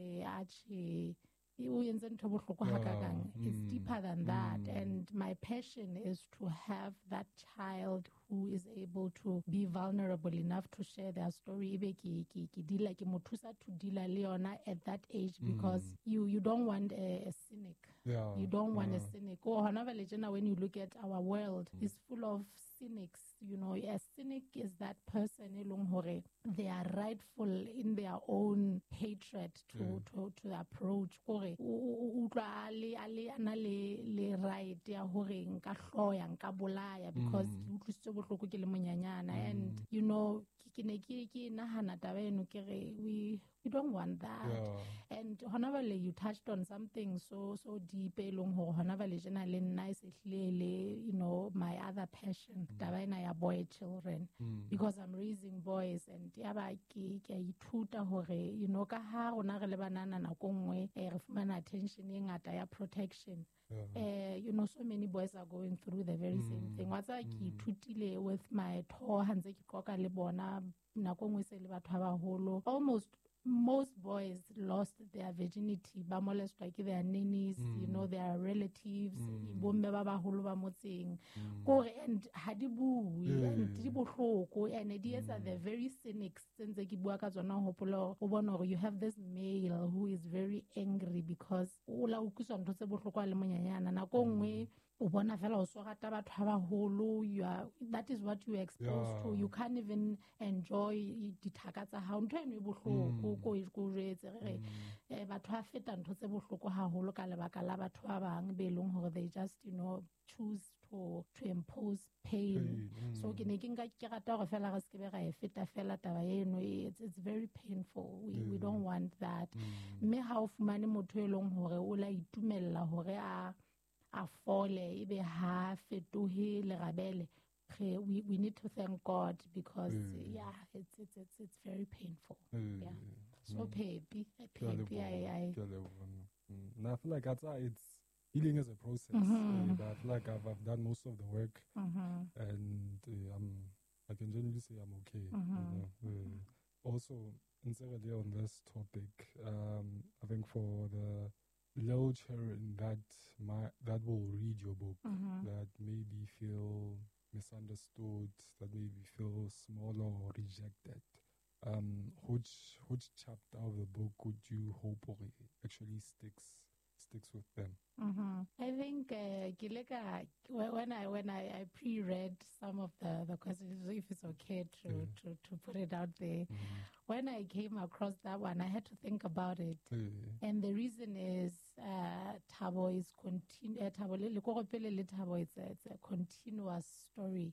say, "Ache, o entse ntho e bohloko hakakang." It's deeper than that. And my passion is to have that child who is able to be vulnerable enough to share their story. Ebe ke deala, ke mo thusa to deala le yona at that age, because you don't want a cynic. You don't want a cynic. Oh, hona jwale tjena, when you look at our world, it's full of cynics. You know, a cynic is that person e leng hore they are rightful in their own hatred to approach. Kore, o utlwa a le, a na le right ya hore nka hloya, nka bolaya, because ke utlwisitswe bohloko ke le monyanyana. And, you know, ke ne ke nahana taba eno, ke re, we don't want that. And hona jwale you touched on something so deep e leng hore hona jwale tjena le nna e se hlile le, you know, my other passion, taba ena ya boy children, because I'm raising boys, and yaba ke a ithuta hore, you know, ka ha rona re le banana nako nngwe, re fumana attention e ngata ya protection. You know, so many boys are going through the very same thing. Wa tseba, ke ithutile with my tho ha ntse ke qoqa le bona, nako nngwe se le batho ba baholo. Almost most boys lost their virginity, ba molestwa ke their nannies, you know, their relatives, bomme ba baholo ba motseng. Kore, and ha di bue, and di bohloko, and di etsa the very cynics tse ntse ke bua ka tsona, ho hopola hore o bone hore you have this male who is very angry because o la utlwiswa ntho tse bohloko a le monyanyana. Nako nngwe o bona fela o so rata batho ba baholo, that is what you are exposed to. You can't even enjoy dithaka tsa hao. Ntho eno e bohloko, ko jwetse, re re, batho ba feta ntho tse bohloko haholo ka lebaka la batho ba bang be leng hore they just, you know, choose to impose pain. Pain. So ke ne ke nka ke rata hore fela re se ke be ra e feta fela taba eno. It's very painful. We don't want that. Mme ha o fumane motho e leng hore o la itumella hore a fole, ebe ha fetohe lerabele, we need to thank God, because yeah, it's very painful. Yeah. So Pepi, Ke a Pepi, leboha, I ke a leboha. And I feel like it's healing is a process. But I feel like I've done most of the work, and I can generally say I'm okay. You know? Also, instead on this topic, I think for the little children that will read your book, that maybe feel misunderstood, that maybe feel smaller or rejected, which chapter of the book would you hope actually sticks with them? I think, ke le ka, when I pre-read some of the questions, if it's okay to put it out there, when I came across that one, I had to think about it. And the reason is, Thabo is Thabo le, le koro pele le Thabo, it's a continuous story.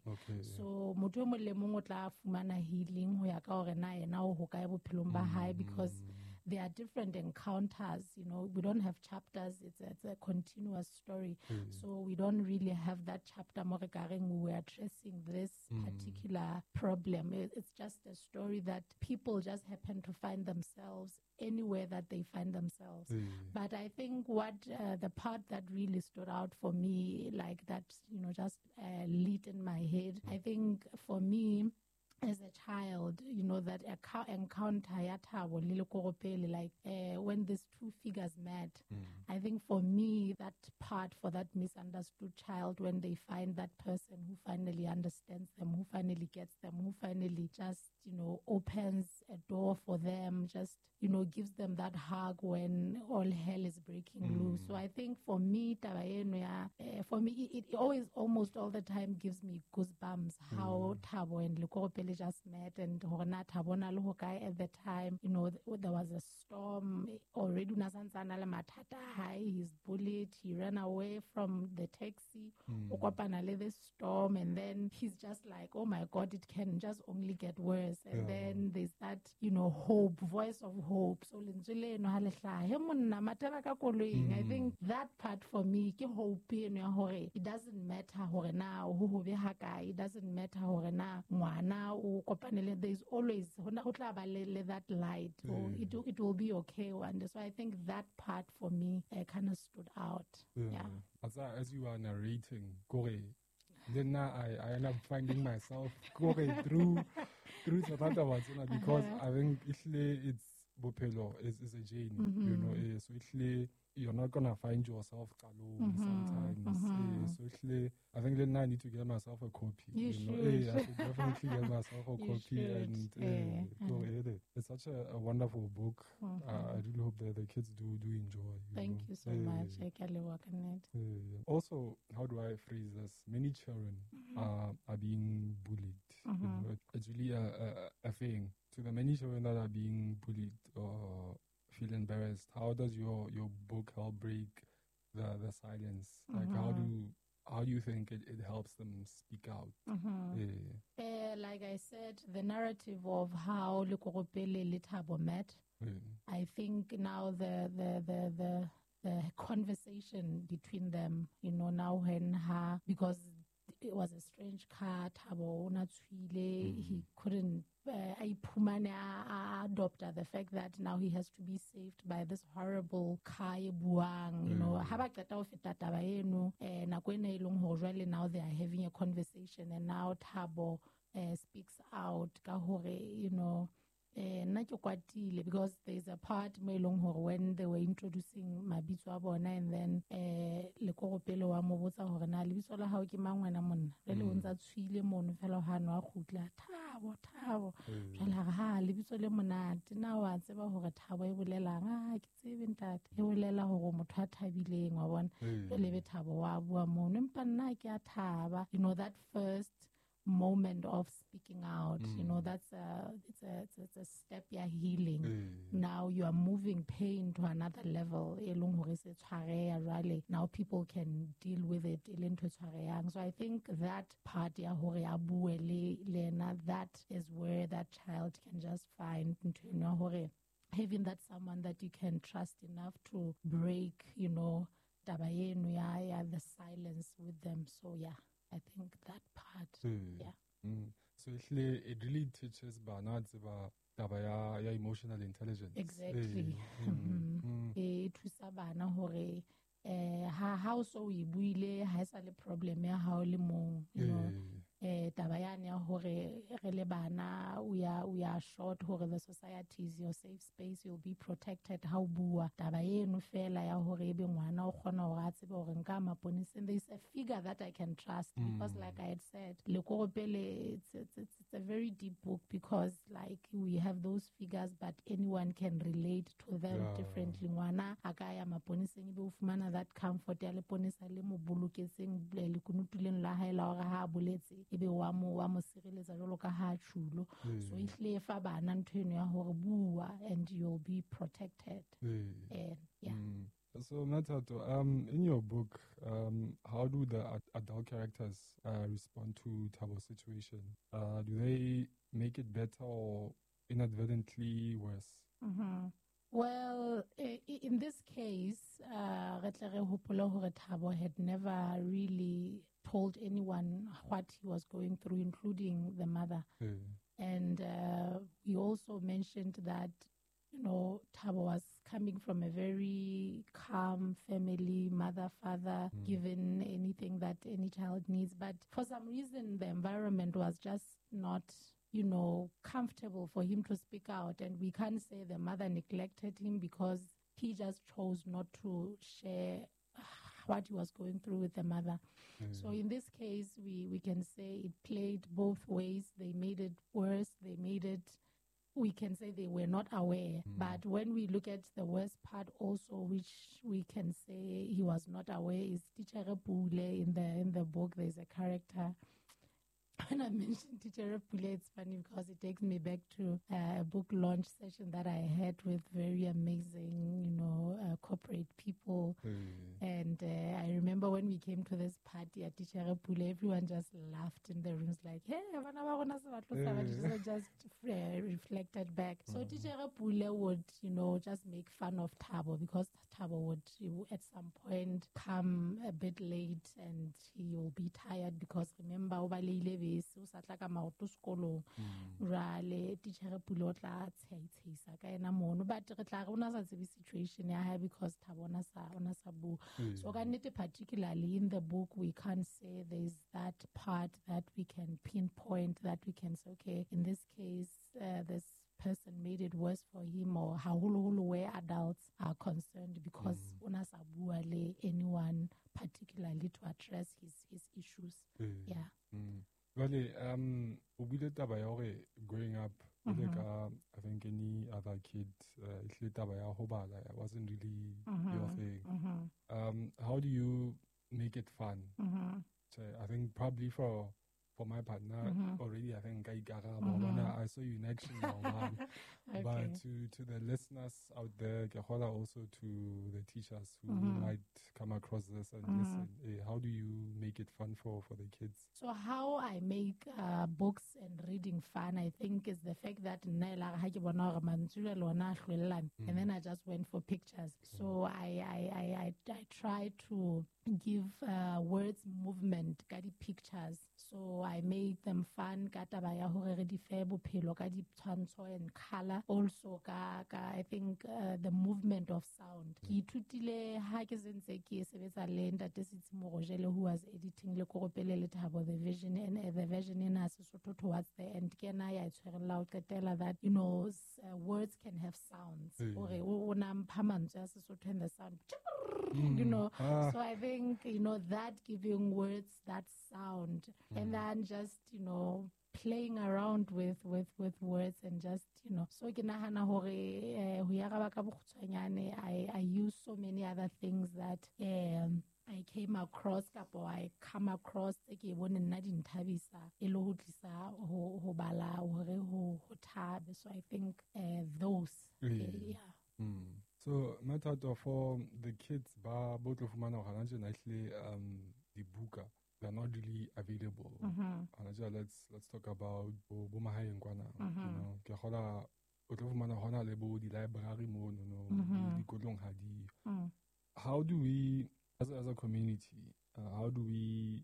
So motho e mong le mong o tla fumana healing ho ya ka hore na yena o hokae bophelong ba hae, because there are different encounters, you know, we don't have chapters, it's a continuous story. So we don't really have that chapter mo re ka reng we are addressing this particular problem. It's just a story that people just happen to find themselves anywhere that they find themselves. But I think what the part that really stood out for me, like that, you know, just lit in my head, I think for me, as a child, you know, that encounter ya Thabo le Lekoropele, when these two figures met, I think for me, that part for that misunderstood child, when they find that person who finally understands them, who finally gets them, who finally just, you know, opens a door for them, just, you know, gives them that hug when all hell is breaking loose. So I think for me, taba eno ya, for me, it always, almost all the time gives me goosebumps how Thabo and Lekoropele just met, and hore na Thabo na le hokae at the time. You know, there was a storm already. O na santse a na le mathata a hae, he's bullied, he ran away from the taxi, o kopana le the storm, and then he's just like, oh my God, it can just only get worse. And then there's that, you know, hope, voice of hope. So lentswe leno ha le hlaha, he monna, mathela ka koloing. I think that part for me, ke hope eno ya hore it doesn't matter hore na ho hobe ha kae, it doesn't matter hore na ngwana o kopane le, there's always, ho na, ho tla ba le that light. Oh, it will be okay one day. So I think that part for me, kind of stood out. As you are narrating, kore, then now I end up finding myself kore through tsona taba tsena, because I think it's bophelo is a journey, you know. So ehlile you're not gonna find yourself alone sometimes. So ehlile, I think then I need to get myself a copy. You know? should. I should definitely get myself a You copy. should. And it's such a wonderful book. I really hope that the kids do enjoy. Thank know? you so much. I can work on it. Also, how do I phrase this? Many children are being bullied. You know, it's really a thing. To the many children that are being bullied or feel embarrassed, how does your book help break the silence? Like, how do you think it helps them speak out? Like I said, the narrative of how Lekoropele le Thabo met, I think now the conversation between them, you know, now when her, because it was a strange car, Thabo o na tswile, he couldn't adopt the fact that now he has to be saved by this horrible car e buang, you know. Ha ba qeta ho feta taba eno, nako ena e leng hore jwale now they are having a conversation, and now Thabo speaks out ka hore, you know, nna ke kwatile, because there's a part mo e leng hore when they were introducing mabitso a bona, and then Lekoropele wa mo botsa hore na lebitso la hao ke mang wena monna, jwale o ntsa tshwile mono fela ha no a kgutla, Thabo, Thabo, jwale a re, ha lebitso le monate, na wa tseba hore Thabo e bolelang? Ah, ke tsebe ntate, e bolela hore motho a thabileng, wa bona. Jwale be Thabo wa bua mono, empa nna ke a thaba, you know, that first moment of speaking out, you know, that's it's a step, ya healing. Now you are moving pain to another level, e leng hore se tshwareha jwale, now people can deal with it, e le ntho e tshwarehang. So I think that part ya hore a bue le yena, that is where that child can just find ntho eno ya hore having that someone that you can trust enough to break, you know, taba eno ya the silence with them. So yeah, I think that part, yeah. So it really teaches bana tseba taba ya emotional intelligence. Exactly. E thusa bana hore ha o so o e buile, ha e sa le problem ya hao le mong, you know. Taba yane ya hore re le bana, we are short hore the society is your safe space, you'll be protected ha o bua. Taba eno fela ya hore ebe ngwana o kgona hore a tsebe hore nka maponeseng, there is a figure that I can trust, because like I had said, Lekoropele, it's a very deep book, because like we have those figures, but anyone can relate to them differently. Ngwana a ka ya maponeseng ebe o fumana that comfort ya leponesa le mo boloketseng lekunutu leno la hae la hore ha a boletse ebe wa mo sireletsa jwalo ka ha tjhulo. So ehlile fa bana ntho eno ya hore bua and you'll be protected. Yeah. So Mathato, in your book, how do the adult characters respond to Thabo's situation? Do they make it better or inadvertently worse? Well, in this case, re tle re hopole hore Thabo had never really told anyone what he was going through, including the mother. And we also mentioned that, you know, Thabo was coming from a very calm family, mother, father, given anything that any child needs. But for some reason, the environment was just not, you know, comfortable for him to speak out. And we can't say the mother neglected him, because he just chose not to share what he was going through with the mother. So in this case, we can say it played both ways. They made it worse. They made it, we can say they were not aware. But when we look at the worst part also, which we can say he was not aware, is Teacher Pule. In the book, there's a character. When I mentioned Teacher Pule, it's funny because it takes me back to a book launch session that I had with very amazing, you know, corporate people. And I remember when we came to this party at Teacher Pule, everyone just laughed in the rooms like, hey, just reflected back. So Teacher Pule would, you know, just make fun of Thabo, because Thabo would at some point come a bit late and he will be tired, because remember, o baleile bese, o sa tla ka maoto sekolong. Jwale Teacher Pule o tla tsheisa ka ena mono, but re tla re o na sa tsebe situation ya hae, because Thabo o na sa bua. So ka nnete, particularly in the book, we can't say there's that part that we can pinpoint, that we can say, okay, in this case, this person made it worse for him, or haholoholo where adults are concerned, because o na sa bua le anyone particularly to address his issues. Yeah. Jwale, o buile taba ya hore growing up, like, I think any other kid, ehlile taba ya ho bala, it wasn't really your thing. How do you make it fun? So I think probably for my partner, already I think I saw you in action now, man. Okay. But to the listeners out there, ke kgola also to the teachers who might come across this and listen, how do you make it fun for the kids? So how I make books and reading fun, I think, is the fact that nna e la re ha ke bona hore mantswe jwale ona a hlwellane, and then I just went for pictures. So I try to give words movement ka di-pictures. So I make them fun ka taba ya hore re di fe bophelo ka ditshwantsho and color. Also ka I think the movement of sound. Ke ithutile ha ke sentse ke sebetsa le Ntate Sitsi Morojele, who was editing le Koropele le Thabo, the vision and the version in Sesotho towards the end. Ke ena ya tshwerella ho qetela that, you know, words can have sounds. Hore o na mpha mantswe a Sesotho and the sound, you know. So I think, you know, that giving words that sound, and then just, you know, playing around with words and just, you know. So ke nahana hore ho ya raba ka bokgutshwanyane, I use so many other things that I came across kapo I come across tse ke bone nna di nthabisa e le ho tlisa ho bala hore ho thabe. So I think those. Yeah. So Mathato, for the kids ba bo tlo fumana hore hana tjena ehlile, dibuka, they're not really available. Hana tjena, let's talk about bo mahaeng kwana, you know, ke kgola o tlo fumana hona le bo di-library mono, no, dikolong ha di. How do we, as a community, how do we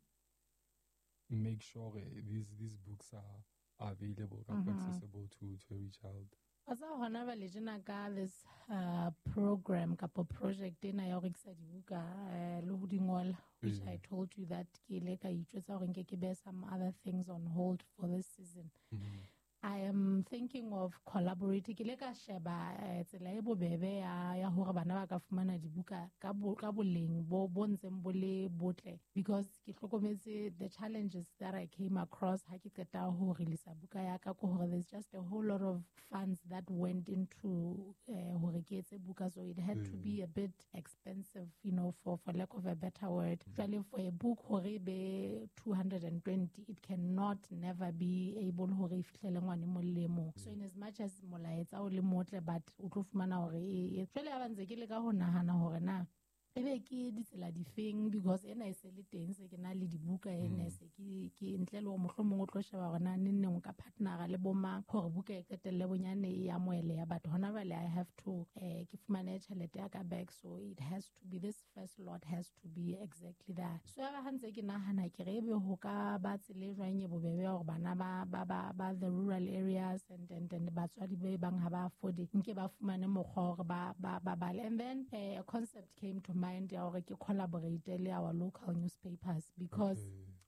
make sure these books are available, accessible to every child? Wa tseba hona jwale tjena ka this program kapo project ena ya ho rekisa dibuka le ho di ngola, which I told you that ke ile ka itjwetsa hore nke ke behe some other things on hold for this season. I am thinking of collaborating. Ke ile ka sheba tsela e bobebe ya hore bana ba ka fumana dibuka ka boleng bo ntseng bo le botle, because ke hlokometse the challenges that I came across ha ke qeta ho release buka ya ka, ke hore there's just a whole lot of funds that went into hore ke etse buka, so it had to be a bit expensive, you know, for lack of a better word. Jwale for a book hore e be 220, it cannot never be able hore e fihlele ngwana e mong le e mong. So in as much as molaetsa o le motle, but o tlo fumana hore e jwale ha ba ntse ke leka ho nahana hore na ebe ke ditsela difeng, because ena e se le teng, se ke na le dibuka ena se ke ntle le hore mohlomong o tlo sheba hore na neng neng o ka partnera le bo mang hore buka e qetelle bonyane e amohele ya batho. Hona jwale I have to ke fumane tjhelete ya ka back, so it has to be, this first lot has to be exactly that. So ya ba ha ntse ke nahana ke re ebe ho ka ba tsela e jwang e bobebe ya hore bana ba the rural areas and batswadi ba bang ha ba afford nke ba fumane mokgwa hore ba bale. And then a concept came to mind ya hore ke collaborate le our local newspapers, because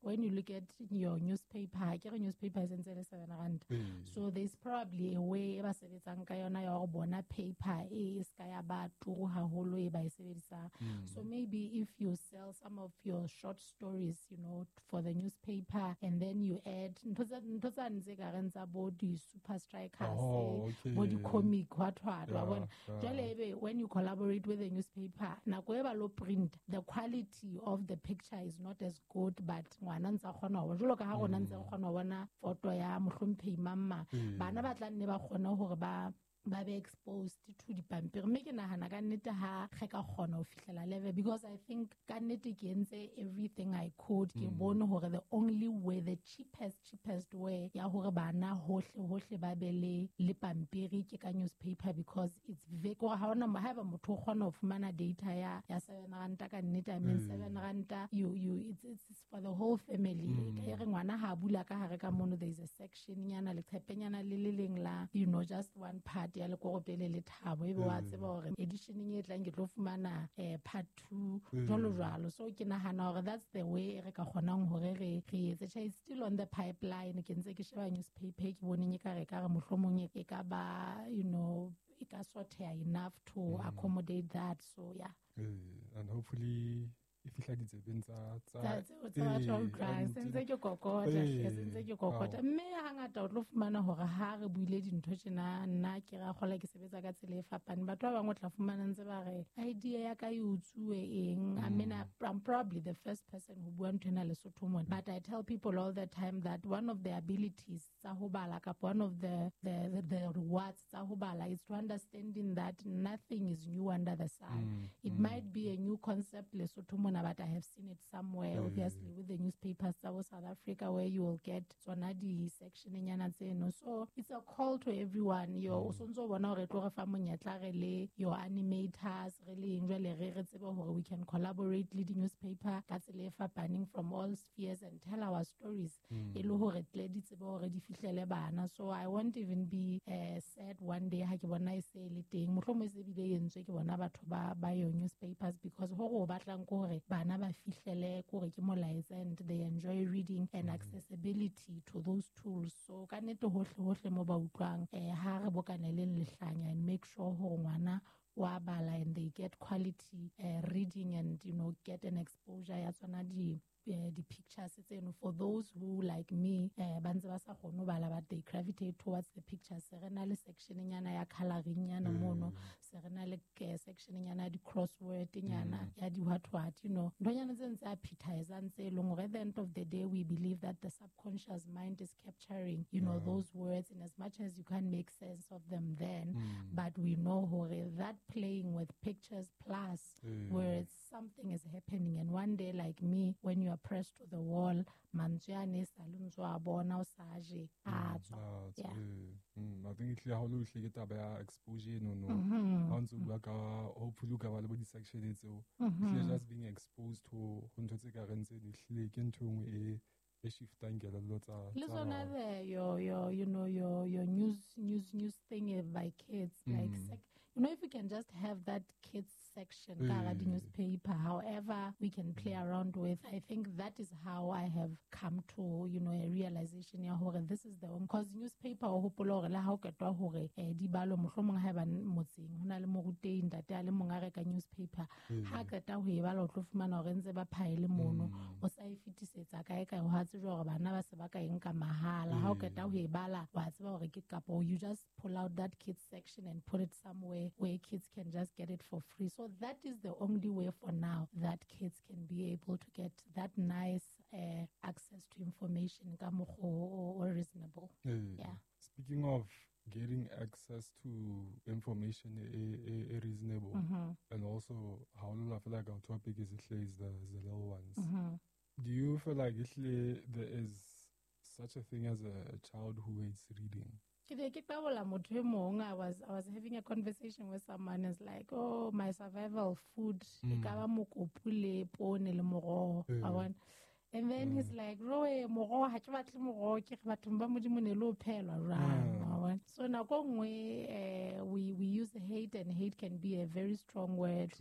when you look at your newspaper, ke re newspaper e sentse le 7 rand. So there's probably a way e ba sebetsang ka yona ya hore bona paper e ska ya ba turu haholo e ba e sebedisang. So maybe if you sell some of your short stories, you know, for the newspaper, and then you add ntho tsa ntse ka reng tsa bo di super strikers, bo di comic, what wa bona. Jwale ebe when you collaborate with the newspaper, nako e ba lo print, the quality of the picture is not as good, but ngwana ntse a kgona ho bona. Jwalo ka ha rona ntse re kgona ho bona photo ya mohlomphehi mamma, bana ba tla nne ba kgone hore ba be exposed to dipampiri. Mme ke nahana ka nnete ha re ka kgona ho fihlela level, because I think ka nnete ke entse everything I could. Ke bone hore the only way, the cheapest way ya hore bana hohle ba be le pampiri ke ka newspaper, because it's very, hore ha ona, haeba motho o kgona ho fumana data ya 7 ranta ka nnete, I mean 7 ranta, you it's for the whole family. E re ngwana ha bula ka hare ka mono, there is a section nyana leqhepenyana le le leng la, you know, just one part. monate ya lekoropele le Thabo, ebe wa tseba hore editioneng e tlang ke tlo fumana part 2 jwalo jwalo. So ke nahana hore that's the way re ka kgonang hore re etse. Tjhe, it's still on the pipeline. Ke ntse ke sheba newspaper, ke boneng e ka re ka re mohlomong e ka ba, you know, e ka sorteha enough to accommodate that. So yeah. And hopefully e fihla ditsebeng tsa tseo tsa batho ba utlwang. Se ntse ke kokota, se ntse ke kokota. Mme hangata o tlo fumana hore ha re buile dintho tjena, nna ke ra kgola ke sebetsa ka tsela e fapaneng. Batho ba bang o tla fumana ntse ba re idea ya ka e utsuwe eng. I mean, I'm probably the first person who bua ntho ena Lesotho mona. But I tell people all the time that one of the abilities tsa ho bala, kapa one of the rewards tsa ho bala, is to understanding that nothing is new under the sun. It might be a new concept Lesotho mona, but I have seen it somewhere, obviously, with the newspapers of South Africa, where you will get tsona di section nyana tseno. So it's a call to everyone. Yo, o sontso bona hore tlo re fa monyetla re le your animators, re le eng jwale re tsebe hore we can collaborate le di newspaper ka tsela e fapaneng from all spheres and tell our stories. E le hore tle di tsebe hore di fihlele bana. So I won't even be sad one day ha ke bona e se le teng. Mohlomong e se bile e entswe ke bona batho ba your newspapers, because hore o batlang ke hore bana ba fihlele kore ke molaetsa, and they enjoy reading and accessibility to those tools. So ka nnete hohle hohle mo ba utlwang, ha re bokaneleng lehlanya and make sure hore ngwana wa bala and they get quality reading and, you know, get an exposure ya tsona di pictures tseno. For those who like me, ba ntse ba sa kgone ho bala, but they gravitate towards the pictures. Se re na le section nyana ya coloring nyana mono, se re na le section nyana ya di crossword nyana ya di what what, you know, nthonyana tse ntse appetizang tse leng hore at the end of the day we believe that the subconscious mind is capturing, you know, those words, in as much as you can't make sense of them then, but we know hore that playing with pictures plus words, something is happening. And one day, like me, when you are pressed to the wall, mantswe a ne sa le ntso a bona o sa je a tswa. Yeah. I think ehlile ha o le hle ke taba ya exposure no. Ha ntse o bua ka hopefully o ka ba le bo di-section tseo. Ehlile just being exposed to ho ntho tse ka reng tse ehlile ke ntho e nngwe e shiftang kelello tsa le tsona the your you know your news thing by kids, like you know, if you can just have that kids section ka the newspaper, however we can play around with, I think that is how I have come to, you know, a realization ya hore this is the one. Because newspaper o hopola hore le ha o ketwa hore di balo mohlomong ha ba motseng hona le morutei ntate a le mong a reka newspaper, ha qeta ho e bala o tlo fumana hore ntse ba phaele mono, o sa e fitisetsa kae kae, ho tsejwa hore bana ba se ba ka eng ka mahala. Ha o qeta ho e bala wa tseba hore ke kapo you just pull out that kids section and put it somewhere where kids can just get it for free. So that is the only way for now that kids can be able to get that nice access to information ka mokgwa o reasonable. Yeah. Speaking of getting access to information a reasonable, and also how I feel like our topic is the little ones. Do you feel like there is such a thing as a child who hates reading? I was having a conversation with someone. It's like, oh, my survival food. And then he's like, Roe, moroho, ha ke batle moroho, ke re bathong ba Modimo ne le o phelwa jwang. So nako nngwe we use hate, and hate can be a very strong word.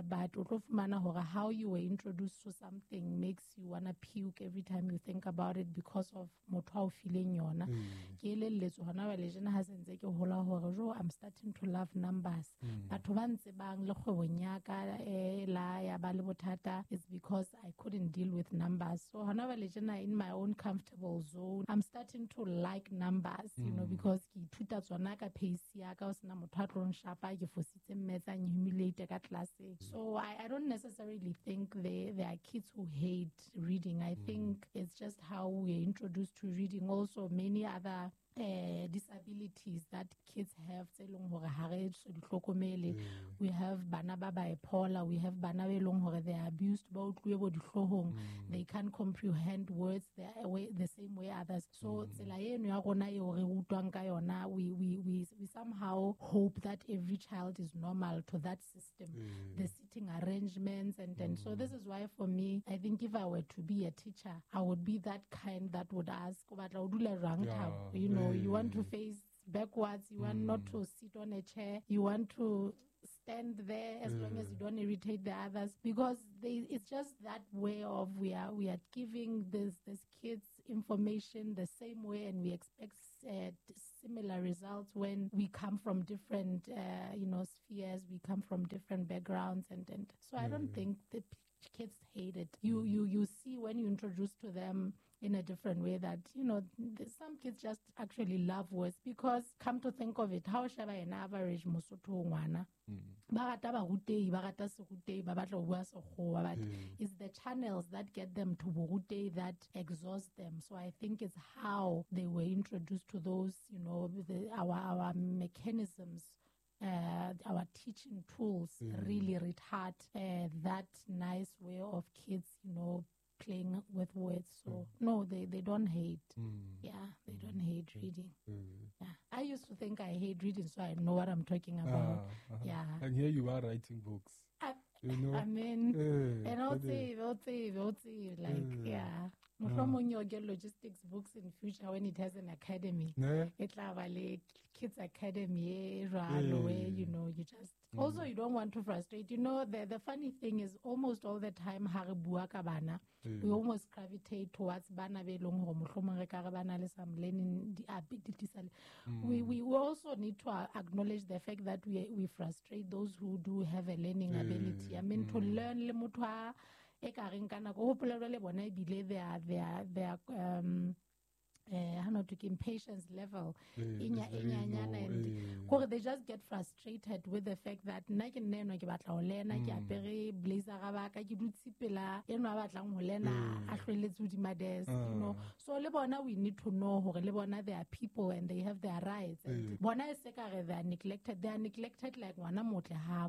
But o tlo fumana hore how you were introduced to something makes you wanna puke every time you think about it because of motho a o fileng yona. Ke elelletswe hona jwale tjena ha se ntse ke hola hore jo, I'm starting to love numbers. Batho ba ntsebang le kgwebong ya ka la ya ba le bothata, it's because I couldn't deal with numbers. So hona jwale tjena in my own comfortable zone, I'm starting to like numbers, you know, because ke ithuta tsona ka pace ya ka, o sena motho a tlo nshapa ke fositse mmetse a humiliate ka classeng. So I don't necessarily think there are kids who hate reading. I think it's just how we're introduced to reading. Also many other disabilities that kids have tse leng hore ha re so di hlokomele. We have bana ba bipolar, we have bana be leng hore they are abused, ba utluwe bo dihloohong, they can't comprehend words the same way others. So tsela eno ya rona eo re rutwang ka yona, we somehow hope that every child is normal to that system, the sitting arrangements and so this is why for me, I think if I were to be a teacher, I would be that kind that would ask, o batla o dula jwang Thabo? You know, you want to face backwards, you want not to sit on a chair, you want to stand there as long as you don't irritate the others, because it's just that way of we are giving these kids information the same way, and we expect similar results when we come from different spheres, we come from different backgrounds, and so I don't think the kids hate it. You see when you introduce to them in a different way that, you know, some kids just actually love words, because come to think of it, how shall I an average Mosotho ngwana? Ba rata barutei, ba rata serutei, ba batla ho bua sekgowa, but it's the channels that get them to borutei that exhaust them. So I think it's how they were introduced to those, you know, our mechanisms, our teaching tools really retard that nice way of kids, you know, playing with words. So no, they don't hate. Yeah, they don't hate reading. Yeah. I used to think I hate reading, so I know what I'm talking about. Yeah. And here you are writing books. You know? I mean, and I'll say, like, yeah. Mohlomong you'll get logistics books in future when it has an academy. Kids academy, where, you know, you just also you don't want to frustrate. You know, the funny thing is almost all the time ha re bua ka bana, we almost gravitate towards bana be leng hore mohlomong re ka re bana le some learning disability. We also need to acknowledge the fact that we frustrate those who do have a learning ability. I mean, to learn le motho a e ka reng ka nako ho hopola le bona ebile their impatience level and they just get frustrated with the fact that nna ke nna enwa ke batla ho lena, ke apere blazer ga ba ka, ke dutse pela enwa a batlang ho lena a hlweletse hodima desk, you know. So le bona we need to know hore le bona they are people and they have their rights, and bona e se ka re they are neglected, they are neglected like ngwana motle ha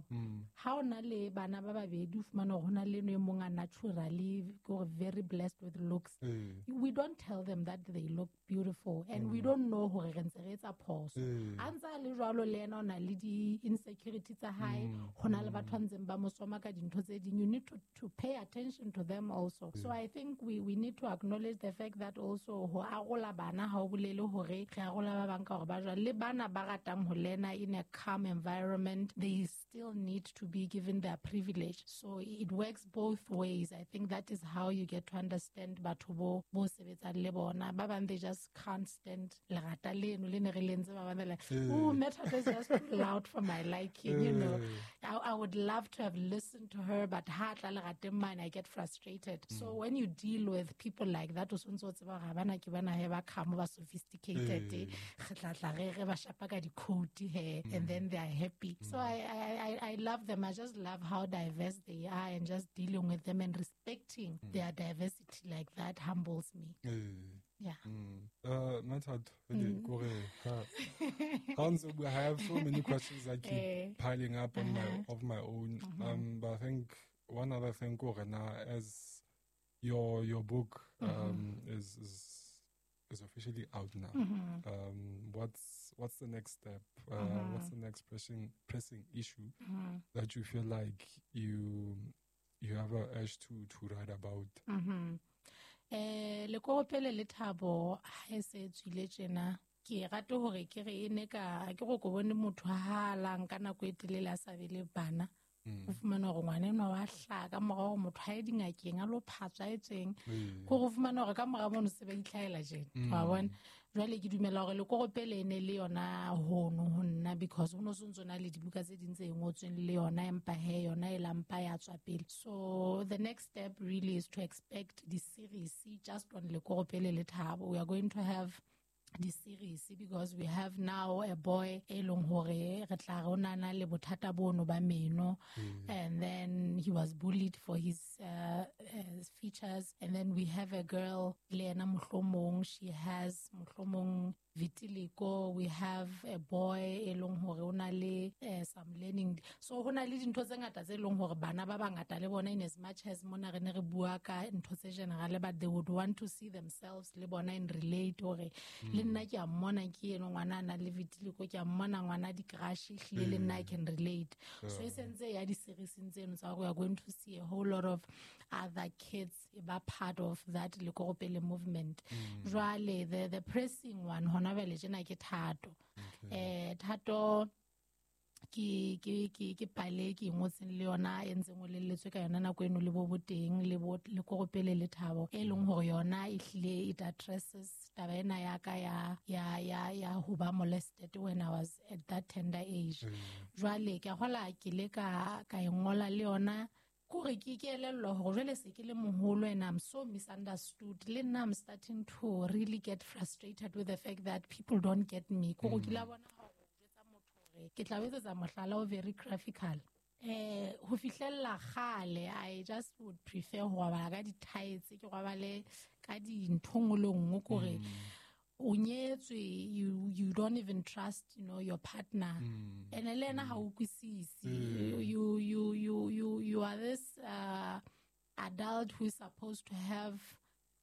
ha ona le bana ba babedi o fumana hore hona le no e mong a naturally gore very blessed with looks. We don't tell them that they look beautiful, and we don't know hore re ntse re etsa phoso. A ntse a le jwalo le ena o na le di-insecurity tsa hae, ho na le batho ba ntseng ba mo soma ka dintho tse ding. You need to pay attention to them also. So I think we need to acknowledge the fact that also ho arola bana ha o bolele hore re arola ba bang ka hore ba jwang. Le bana ba ratang ho lena in a calm environment, they still need to be given their privilege. So it works both ways. I think that is how you get to understand batho bo sebetsang le bona. Ba bang they just can't stand lerata leno le ne re le ntse ba bang like, oh, Method is just too loud for my liking, you know. I would love to have listened to her, but ha tla lerateng mane, I get frustrated. So when you deal with people like that, o sontse o tseba hore bana ke bana he ba calm, ba sophisticated, re tla tla re ba shapa ka di-coat he, and then they are happy. So I love them. I just love how diverse they are, and just dealing with them and respecting their diversity like that humbles me. Yeah. Method, I have so many questions that keep piling up on my of my own. But I think one other thing, as your book is officially out now. What's the next step? What's the next pressing issue that you feel like you have a urge to write about? Lekoropele le Thabo ha e se tswile tjena, ke rate hore ke re e ne ka ke go ko bone motho ha lang ka nako e telele a sa be le bana. O fumana hore ngwana enwa wa hlaha ka mora hore motho ha ye dingakeng a lo phatswa e tsweng, ko go fumana hore ka mora mono se ba itlhahela tjena, wa bona. Jwale ke dumela hore lekoropele e ne le yona hono ho nna, because ho no sontso na le dibuka tse ding tse ngotsweng le yona, empa he yona e lampa ya tswa pele. So the next step really is to expect the series just on Lekoropele le Thabo. We are going to have the series because we have now a boy e leng hore re tla re o na le bothata bono ba meno, and then he was bullied for his features, and then we have a girl le ena mohlomong she has mohlomong vitiligo. We have a boy e leng hore o na le some learning. So ho na le dintho tse ngata tse leng hore bana ba bangata le bona, in as much as mona re ne re bua ka ntho tse general, but they would want to see themselves le bona and relate hore le nna ke a mmona ke eno ngwana a nang le vitiligo, ke a mmona ngwana di-crush, ehlile le nna I can relate. So e sentse ya di-series-eng tseno tsa gore we are going to see a whole lot of other kids e ba part of that Lekoropele movement. Jwale the pressing one hona jwale tjena ke Thato. Thato ke pale ke ngotseng le yona e ntseng o lelletswe ka yona nako eno le bo boteng le bo Lekoropele le Thabo, e leng hore yona e hlile it addresses taba ena ya ka ya ho ba molested when I was at that tender age. Jwale ke a hola ke le ka e ngola le yona kore ke elellwa hore jwale se ke le moholo and I'm so misunderstood. Le nna I'm starting to really get frustrated with the fact that people don't get me. Kore ke la bona hore jwetsa motho hore ke tla etsetsa mohlala o very graphical. Ho fihlella kgale I just would prefer ho robala ka di-tights, ke robale ka dintho nngwe le nngwe kore o nyetswe, you don't even trust, you know, your partner. And le yena ha o utlwisise. You are this adult who is supposed to have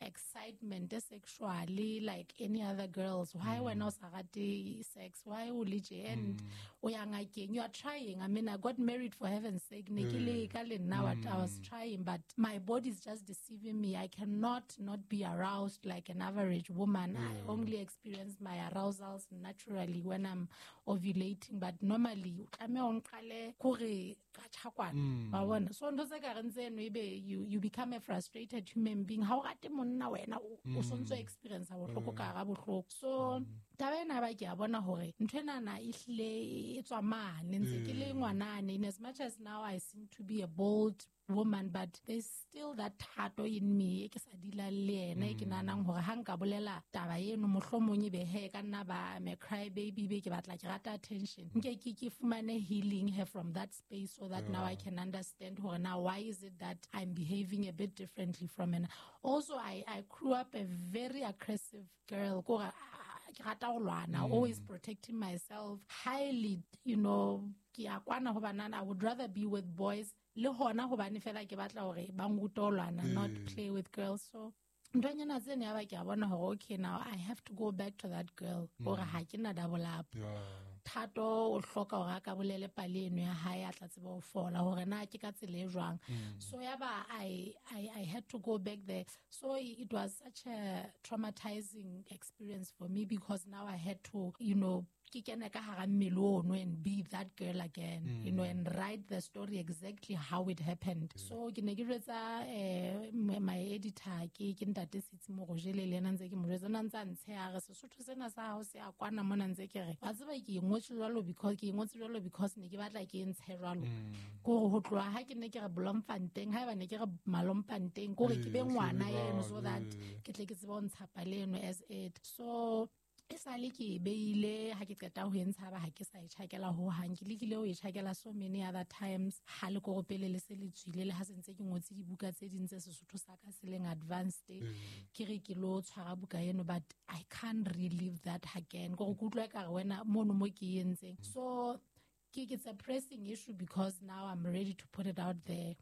excitement sexually like any other girls. Why wena o sa rate sex? Why o le tje? And o ya ngakeng, you are trying. I mean, I got married for heaven's sake. Ne ke leka le nna, I was trying, but my body is just deceiving me. I cannot not be aroused like an average woman. I only experience my arousals naturally when I'm ovulating, but normally o tlameha o nqale kore ka tjhakwana. Wa bona? So ntho tse ka reng tseno ebe you become a frustrated human being. Ha o rate monna wena o sontso experience bohloko ka hara bohloko. So taba ena ba ke a bona hore ntho enana e hlile e tswa mane ntse ke le ngwanane. In as much as now I seem to be a bold woman, but there's still that thato in me e ke sa dilang le yena, e ke nahanang hore ha nka bolela taba eno mohlomong ebe he ka nna ba I'm a cry baby, be ke batla ke rata attention. Nke ke fumane healing her from that space so that now I can understand hore now why is it that I'm behaving a bit differently from her. Also, I grew up a very aggressive girl. Kore ke rata ho lwana, always protecting myself, highly, you know, ke a kwana ho banana. I would rather be with boys le hona hobane fela ke batla hore ba nrute ho lwana, not play with girls. So nthonyana tsene ya ba ke a bona hore okay, now I have to go back to that girl hore ha ke na double up. Thato o hloka hore a ka bolele pale eno ya hae, a tla tseba ho fola hore na ke ka tsela e jwang. So ya ba I had to go back there. So it was such a traumatizing experience for me because now I had to, you know, ke kene ka hara mmele ono and be that girl again, you know, and write the story exactly how it happened. So ke ne ke jwetsa my editor ke ntate Sitsi Morojele, le yena ntse ke mo jwetsa, na ntse a ntsheha re Sesotho sena sa hao se a kwana mona, ntse ke re wa tseba ke ingotse jwalo because ke ingotse jwalo because ne ke batla ke ntshe jwalo. Kore ho tloha ha ke ne ke re Bloemfontein, haeba ne ke re Malompanteng, kore ke be ngwana eno so that ke tle ke tsebe ho ntsha pale eno as it. So e sale ke e beile, ha ke qeta ho e ntsha ba ha ke sa e tjhakela ho hang. Ke lekile ho e tjhakela so many other times ha Lekoropele le se le tswile, le ha se ntse ke ngotse dibuka tse ding tse Sesotho sa ka se leng advanced, ke re ke lo tshwara buka eno, but I can't relive that again. Kore ke utlwa ekare wena mono mo ke entseng. So it's a pressing issue because now I'm ready to put it out there.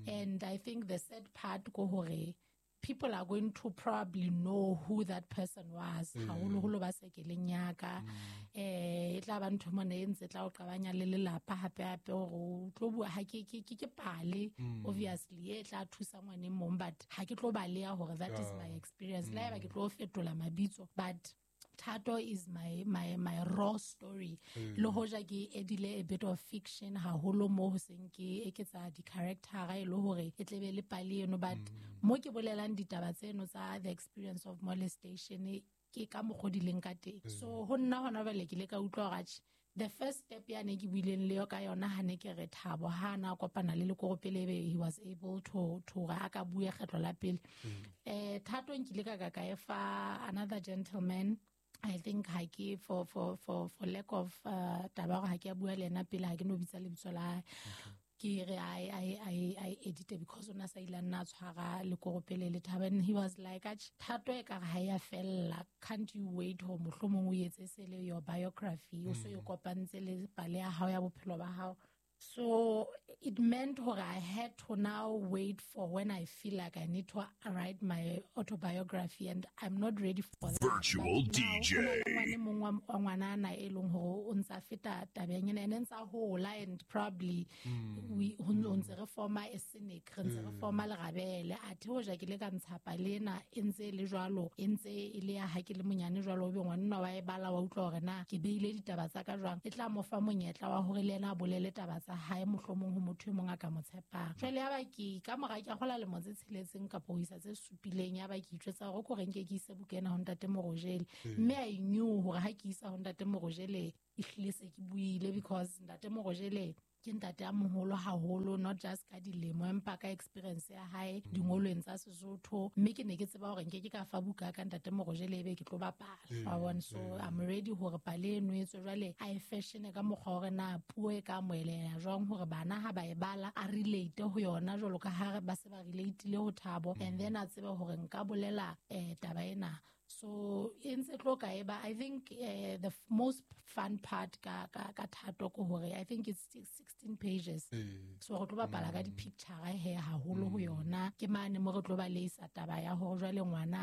And I think the sad part ko hore people are going to probably know who that person was. Haholoholo ba se keleng ya ka. E tla ba ntho mona e ntse tla o qabanya le lelapa hape hape hore o tlo bua ha ke pale, obviously e tla thusa ngwane mong, but ha ke tlo baleha hore that is my experience. Le haeba ke tlo fetola mabitso, but Thato is my raw story. Le hoja ke edile a bit of fiction haholo mo ho seng ke eketsa di-character e le hore e tlebe le pale eno, but mo ke bolelang ditaba tseno tsa the experience of molestation ke ka mokgo di leng ka teng. So ho nna hona jwale ke ile ka utlwa hore atjhe, the first step ya ne ke buileng le yo ka yona ha ne ke re Thabo ha na kopana le Lekoropele ebe he was able to hore a ka bue kgetlo la pele. Thato nkile ka e fa another gentleman. I think ha ke for lack of taba hore ha ke a bua le yena pele, ha ke no bitsa lebitso la hae. Ke re I edit because ona sa ile nna tshwara Lekoropele le Thabo, and he was like, Thato e ka re ha ya fella, can't you wait ho mohlomong o etse se le your biography, o so e kopantse le pale ya hao ya bophelo ba hao. So it meant hore I had to now wait for when I feel like I need to write my autobiography, and I'm not ready for that. Virtual DJ. Ngwane mong wa ngwanana e leng hore o ntsa feta tabeng ena, ene ntsa hola, and probably we ho ntse re forma a cynic, re ntse re forma lerabele. Athe hoja ke le ka ntsha pale ena e ntse e le jwalo, e ntse e le ya ha ke le monyane jwalo, o be ngwanenwa wa e bala wa utlwa hore na ke beile ditaba tsa ka jwang, e tla mo fa monyetla wa hore le yena a bolele taba tsa hae mohlomong ho motho e mong a ka mo tshepang. Jwale ya ba ke ka mora ke gola lemo tse tsheletseng kapa ho isa tse supileng, ya ba ke itjwetsa hore ko reng ke ise buka ena ho ntate Morojele. Mme I knew hore ha ke isa ho ntate Morojele e hlile se ke buile, because ntate Morojele ke ntate a moholo haholo, not just ka dilemo empa ka experience ya hae dingolweng tsa Sesotho. Mme ke ne ke tseba hore nke ke ka fa buka ka ntate Morojele ebe ke tlo bapala. Wa bona? So I'm ready hore pale eno e tswe jwale a e fashion ka mokgwa hore na puo e ka amoheleha jwang, hore bana ha ba e bala a relate ho yona jwalo ka ha ba se ba relate-ile ho Thabo, and then a tsebe hore nka bolela taba ena. So e ntse tlo ka eba, I think the most fun part ka Thato ke hore I think it's 16 pages. So re tlo bapala ka di-picture he haholo ho yona. Ke mane mo re tlo ba leisa taba ya hore jwale ngwana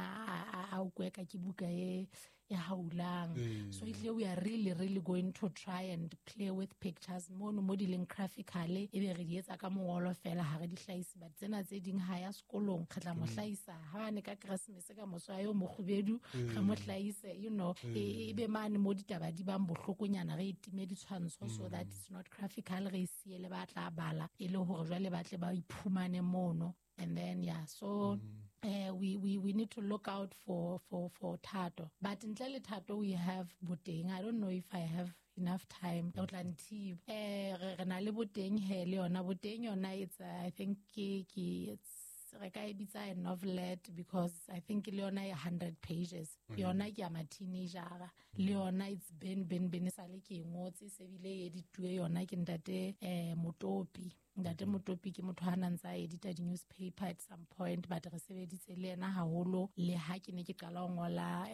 a ukwe ka ke buka e haulang. So ehlile we are really really going to try and play with pictures mono mo di leng graphically, ebe re di etsa ka mongolo fela, ha re di hlahise. But tsena tse ding ha ya sekolong re tla mo hlahisa ha ne ka Christmas ka moso yo mokgubedu re mo hlahise, you know, ebe mane mo ditaba di bang bohlokonyana re itime ditshwantsho so that it's not graphical, re siele ba tla bala e le hore jwale ba tle ba iphumane mono. And then yeah, so we need to look out for Thato. But ntle le Thato we have Boteng. I don't know if I have enough time. O tla nthiba. Re na le Boteng he le yona. Boteng yona it's I think ke it's re ka e bitsa a novelette, because I think le yona e 100 pages. Yona ke ya ma teenager. Le yona it's been sa le ke ngotse se bile e edituwe yona ke ntate Motopi. Ntate Motopi ke motho a nang tsa edita di-newspaper at some point, but re sebeditse le yena haholo le ha ke ne ke qala ho ngola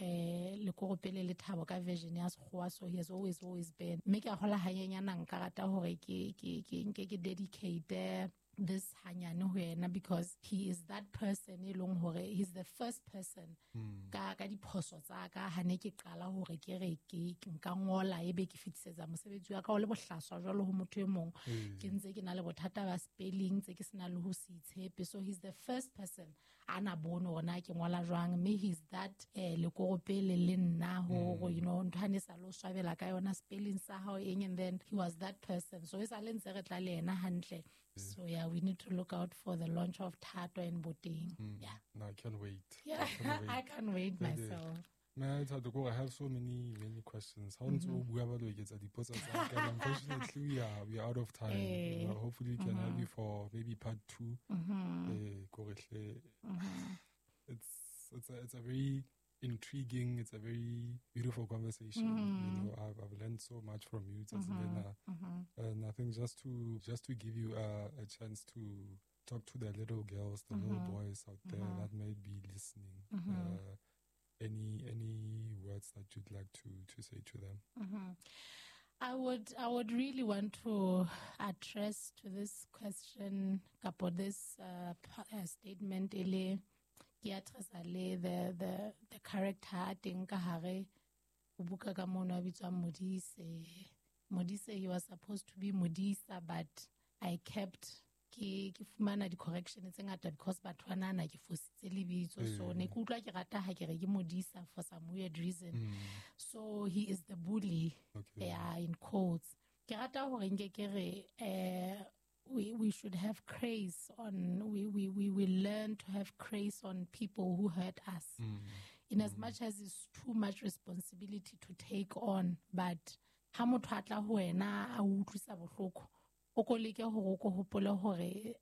Lekoropele le Thabo ka version ya Sekgowa. So he has always been. Mme ke a hola hanyenyana, nka rata hore ke nke ke dedicate this hanyane ho yena, because he is that person e leng hore he's the first person ka diphoso tsa ka ha ne ke qala hore ke re ke nka ngola ebe ke fitisetsa mosebetsi wa ka o le bohlaswa jwalo ho motho e mong, ke ntse ke na le bothata ba spelling tse ke sena le ho se itshepe. So he's the first person ana bone hore na ke ngola jwang, mme he's that lekoropele le nna ho you know ntho ane sa lo swabela ka yona spelling sa hao eng, and then he was that person. So e sa le ntse re tla le yena hantle. So yeah, we need to look out for the launch of Thato and Boteng. Yeah. No, I can't wait. Yeah, I can't wait myself. Man, I have so many questions. How do we unfortunately we are out of time. You know, hopefully we can have you for maybe part 2. It's a very intriguing, it's a very beautiful conversation. You know, I've learned so much from you, Tsatsina. And I think just to give you a chance to talk to the little girls, the little boys out there that may be listening. Any words that you'd like to say to them? I would really want to address to this question, kapo this statement ele ke addressa le the character teng ka hare o buka ka mono a bitswang Modise. Modise, he was supposed to be Modisa, but I kept ke fumana di-correction tse ngata because batho ba nahana ke fositse lebitso. So ne ke utlwa ke rata ha ke re ke Modisa for some weird reason. So he is the bully, yeah, in quotes. Ke rata hore nke ke re we should have grace on we will learn to have grace on people who hurt us. In as much as it's too much responsibility to take on, but ha motho a tla ho wena a utlwisa bohloko, o ko leke hore o ko hopole hore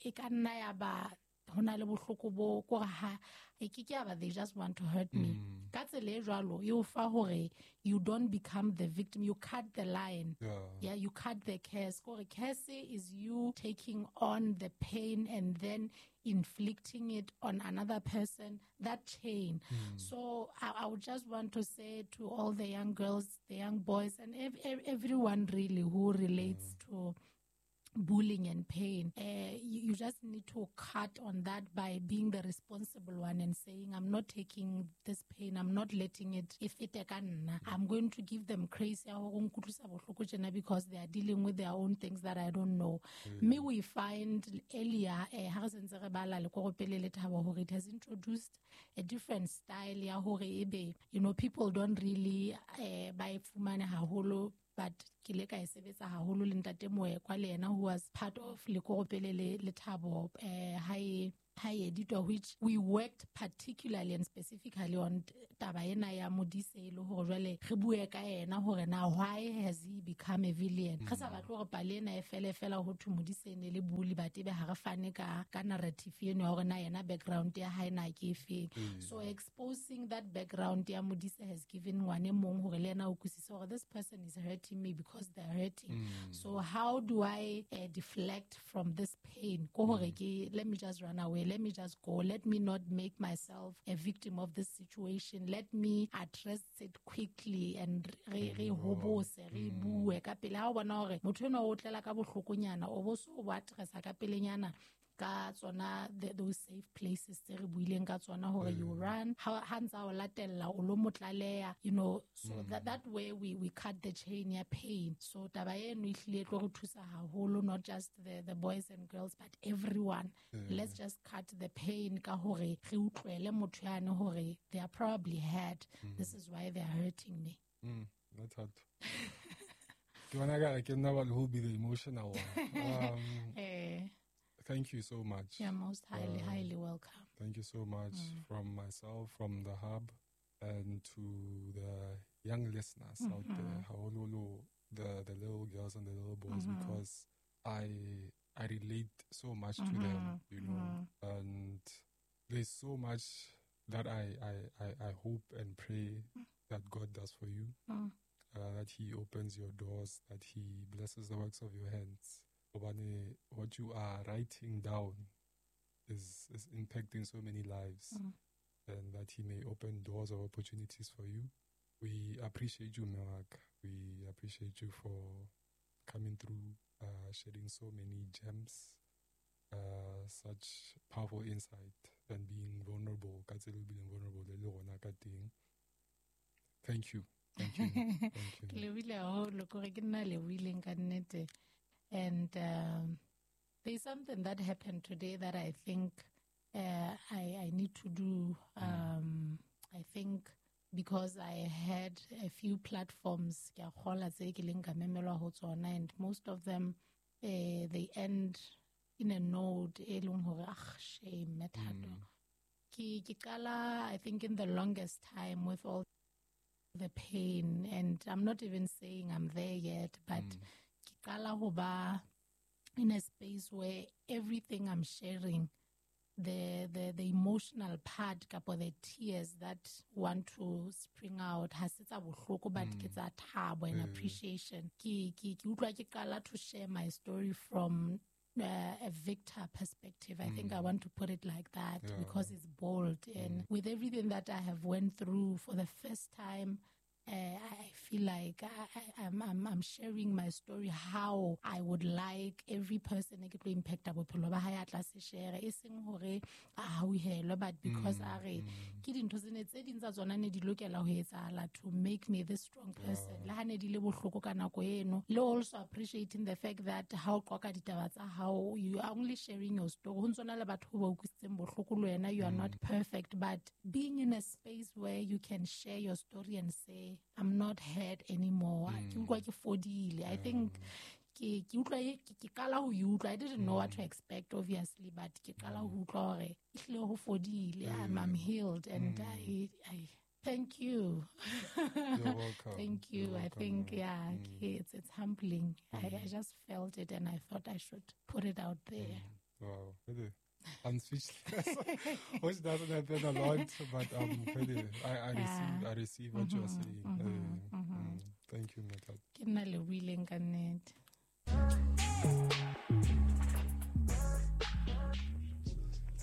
e ka nna ya ba ho na le bohloko bo kore ha e ke ke ba they just want to hurt me. Ka tsela e jwalo e o fa hore you don't become the victim, you cut the line. Yeah, you cut the curse. Kore curse is you taking on the pain and then inflicting it on another person, that chain. So I would just want to say to all the young girls, the young boys, and everyone really who relates to bullying and pain. You just need to cut on that by being the responsible one and saying, I'm not taking this pain, I'm not letting it fete ka nna. I'm going to give them grace ya hore o nkutlwisa bohloko tjena because they are dealing with their own things that I don't know. Me we find earlier, ha re sentse re bala Lekoropele le Thabo hore it has introduced a different style ya hore ebe, you know, people don't really ba e fumane haholo, but ke le ka e sebetsa haholo le ntate Moekwa le yena, who was part of Lekoropele le Thabo, ha e editwa, which we worked particularly and specifically on taba ena ya Modise, e le hore jwale re bue ka yena hore na why has he become a villain. Re sa batle hore pale ena e fele fela ho thwe Modise e ne le bully, but ebe ha re fane ka narrative eno ya hore na yena background ya hae na ke efeng. So exposing that background ya Modise has given ngwane mong hore le yena o utlwisise hore this person is hurting me because they're hurting. So how do I deflect from this pain? Ko hore ke, let me just run away, let me just go, let me not make myself a victim of this situation, let me address it quickly and re hobose, re bue ka pele. Ha o bona hore motho enwa o tlela ka bohlokonyana, o bo so o addressa ka pelenyana ka tsona those safe places tse re buileng ka tsona hore you run, ha ntsa o latella o lo motlaleha, you know, so that way we cut the chain ya pain. So taba eno e hlile e tlo re thusa haholo, not just the boys and girls but everyone. Let's just cut the pain ka hore re utlwele motho yane hore they are probably hurt. This is why they are hurting me. That's hard. Ke bona ka ke nna who will be the emotional one. Thank you so much. You're most highly, highly welcome. Thank you so much from myself, from the Hub, and to the young listeners out there, haholoholo, the little girls and the little boys, because I relate so much to them, you know, and there's so much that I hope and pray that God does for you, that He opens your doors, that He blesses the works of your hands. Obane, what you are writing down is impacting so many lives, and that He may open doors of opportunities for you. We appreciate you, Mewak. We appreciate you for coming through, sharing so many gems, such powerful insight, and being vulnerable. Ka tsela e bileng vulnerable le rona ka teng. Thank you. Thank you. Thank you. Ke lebohile haholo, kore ke nna lebohileng ka nnete. And there's something that happened today that I think I need to do. I think because I had a few platforms, ke a kgolwa tse ke leng ka memelwa ho tsona, and most of them, they end in a note e leng hore, ah, shame, Thato. Ke qala, I think, in the longest time with all the pain, and I'm not even saying I'm there yet, but ke qala ho ba in a space where everything I'm sharing, the emotional part kapa the tears that want to spring out, ha se tsa bohloko, but ke tsa thabo and appreciation. Ke utlwa ke qala to share my story from a victor perspective. I think I want to put it like that because it's bold. And with everything that I have went through, for the first time, I feel like I'm sharing my story how I would like every person e ke tlo impacta bophelo ba hae a tla se share, e seng hore a hauhelwe, but because a re ke dintho tsene tse ding tsa tsona ne di lokela ho etsahala to make me this strong person. Le ha ne di le bohloko ka nako eno, le also appreciating the fact that ha o qoqa ditaba tsa hao, you are only sharing your story. Ho ntso na le batho ba utlwisitseng bohloko le wena, you are not perfect, but being in a space where you can share your story and say, I'm not hurt anymore. Ke utlwa ke fodile. I think ke utlwa ke qala ho e utlwa. I didn't know what to expect, obviously, but ke qala ho utlwa hore ehlile ho fodile. I'm healed, and I thank you. You're welcome. Thank you. You're welcome, I think, man. It's humbling. I just felt it, and I thought I should put it out there. Wow. Really? I'm speechless, which doesn't happen a lot, but really, I receive what you are saying. Thank you, Method. Ke nna lebohileng ka nnete.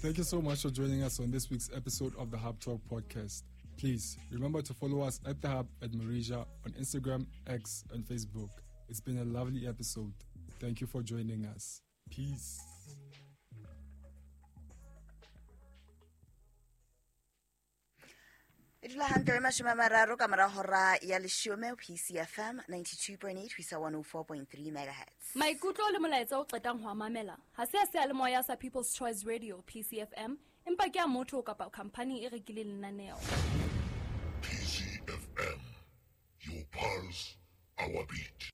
Thank you so much for joining us on this week's episode of the Hub Talk podcast. Please remember to follow us at the Hub at Marija on Instagram, X, and Facebook. It's been a lovely episode. Thank you for joining us. Peace. E dula hantle re 30 ka mora hora ya 10, PCFM 92.8 ho isa 104.3 megahertz. Maikutlo le molaetsa o qetang ho a mamela ha se a seyalemoya sa People's Choice Radio, PCFM, empa ke a motho kapa khampani e rekileng lenaneo. PCFM, your pulse, our beat.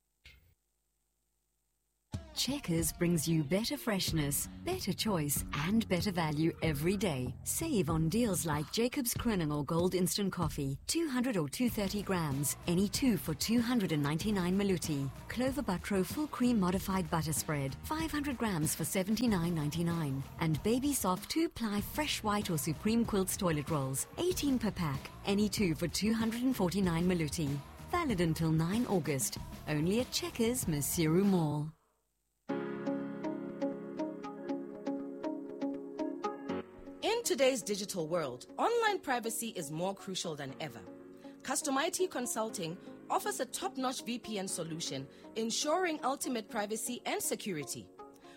Checkers brings you better freshness, better choice, and better value every day. Save on deals like Jacobs Kroning Gold Instant Coffee, 200 or 230 grams, any two for 299 Maluti. Clover Butro Full Cream Modified Butter Spread, 500 grams for 79.99. And Baby Soft 2-ply Fresh White or Supreme Quilts Toilet Rolls, 18 per pack, any two for 249 Maluti. Valid until 9 August. Only at Checkers, Maseru Mall. In today's digital world, online privacy is more crucial than ever. Custom IT Consulting offers a top-notch VPN solution, ensuring ultimate privacy and security.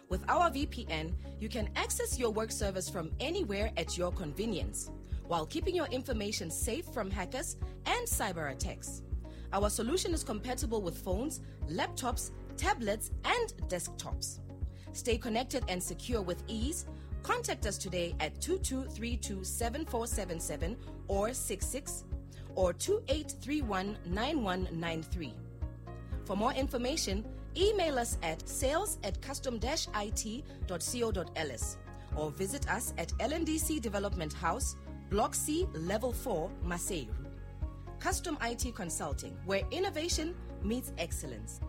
With our VPN, you can access your work servers from anywhere at your convenience, while keeping your information safe from hackers and cyber attacks. Our solution is compatible with phones, laptops, tablets, and desktops. Stay connected and secure with ease. Contact us today at 22327477 or 66 or 28319193. For more information, email us at sales@custom-it.co.ls or visit us at LNDC Development House, Block C, Level 4, Maseru. Custom IT Consulting, where innovation meets excellence.